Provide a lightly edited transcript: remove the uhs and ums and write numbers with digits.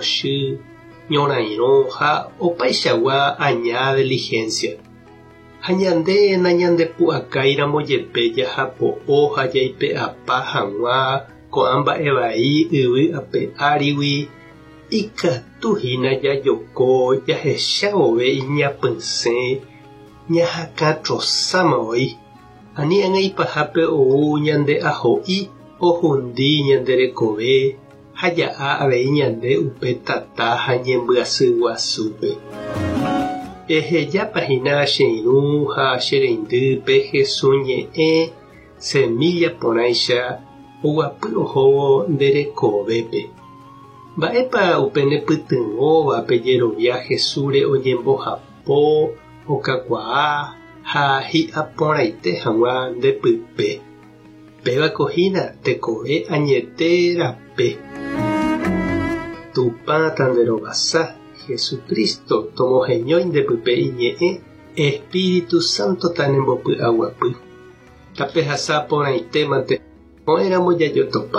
pochy, ñorairõ ha opaichagua aña diligencia. Ha ñande nañandepu'akáiramo jepe jahapo'o ha jaipe'apa hag̃ua ko'ã mba'e vai yvy ape árigui, ikatu hína jajoko jahecha vove iñapysẽ ñahakãtrosáma voi, ani ág̃a ipahápe ou ñande aho'i ohundi ñande rekove ha ja'a avei ñande upe tata ha ñembyasy guasúpe. Ehejápa hína che irũ ha che reindy pe Jesús ñe'ẽ semilla porãicha oguapy ohóvo nde rekovépe. Mba'épa upe nepytyvõva pe jerovia Jesúsre oñembohapo, okakuaa ha hi'a porãite hag̃ua nde pype? Pévako hína tekove añete rape. Tupã tanderovasa, Jesucristo tomoheñói nde pype iñe'ẽ, Espíritu Santo tanembopy'aguapy. Tapehasa porãite mante, ko'ẽramo jajotopa.